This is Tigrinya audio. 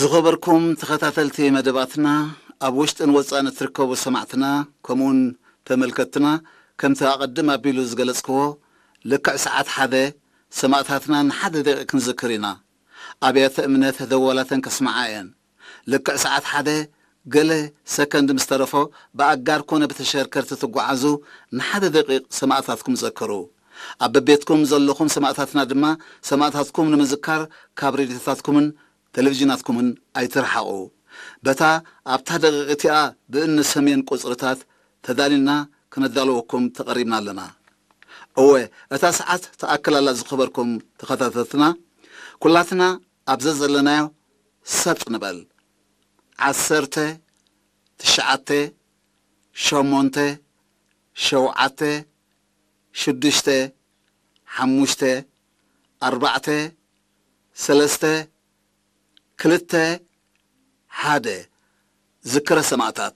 ዝኸበርኩም ተኸታተልቲ መደባትና፣ ኣብ ውሽጥን ወጻእን እትርከቡ ሰማዕትና፣ ከምኡውን ተመልከትና፣ ከምቲ ኣቐድም ኣቢሉ ዝገለጽክዎ፣ ልክዕ ሰዓት ሓደ ሰማእታትና ንሓደ ደቂቕ ክንዝክር ኢና። ኣብያተ እምነት ደወላተን ከስምዓ እየን። ልክዕ ሰዓት ሓደ ገለ ሰከንድ ምስ ተረፎ፣ ብኣጋር ኮነ ብተሸከርከርቲ ትጓዓዙ፣ ንሓደ ደቂቕ ሰማእታትኩም ዘክሩ። ኣብ በቤትኩም ዘለኹም ሰማእታትና ድማ፣ ሰማእታትኩም ንምዝካር ካብ ሬድዮታትኩምን ቴሌቪዥናትኩምን ኣይትርሓቑ። በታ ኣብታ ደቂቕ እቲኣ ብእኒ ሰሜን ቁጽርታት ተዳሊልና ክነዳልወኩም ተቐሪብና ኣለና። እወ፣ እታ ሰዓት ትኣክል ኣላ። ዝኸበርኩም ተኸታተልትና፣ ኩላትና ኣብ ዘዘለናዮ ሰጥ ንበል። ዓሰርተ፣ ትሽዓተ፣ ሸሞንተ፣ ሸውዓተ፣ ሽዱሽተ፣ ሓሙሽተ፣ ኣርባዕተ፣ ሰለስተ፣ ክልተ፣ ሓደ። ዝክረ ሰማእታት።